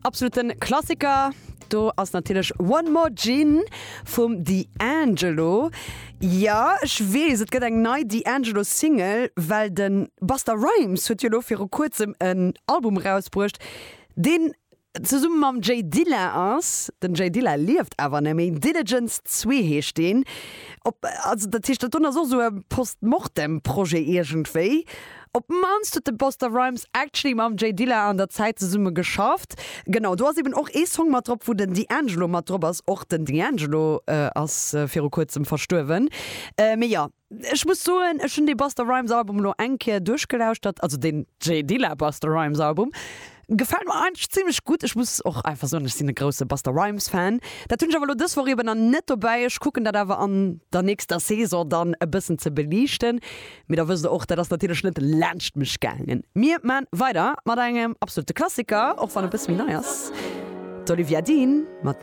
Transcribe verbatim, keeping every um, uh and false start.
Absoluten Klassiker. Do ass natierlech One More Gin vum D'Angelo. Ja, ech weess, et gëtt eng nei D'Angelo Single, well de Busta Rhymes huet jo lo viru kuerzem en Album rausbruecht, deen zesumme mam J Dilla ass. Den J Dilla lieft awer net méi. Dilligence zwee heescht deen. Op, also dat heescht, dat do ass och sou e Postmortem-Projet iergendwéi. Op d'mannst huet de Busta Rhymes actually mam J Dilla an der Zäit zesumme geschafft. Genau, do ass eben och ee Song mat drop, wou den D'Angelo mat drop ass. Och den D'Angelo äh, ass äh, viru kuerzem verstuerwen. Äh, mee ja, ech muss soen, ech hunn de Busta Rhymes Album lo eng Kéier duerchgelauschtert, also den J Dilla Busta Rhymes Album. Gefält mir eigentlech zimmlech gutt. Ech muss och einfach soen, ech sinn e grousse Busta Rhymes Fan. Dat hunn ech awer lo dës Woch eben dann net dobäi. Ech kucken dat awer an der nächster Saison dann e bëssen ze beliichten. Mee da wësst der och, dat ass natierlech net laanscht mech gaangen. Mir maan weider mat engem absolute Klassiker, och wann e bësse méi nei ass. D'Olivia Dean mat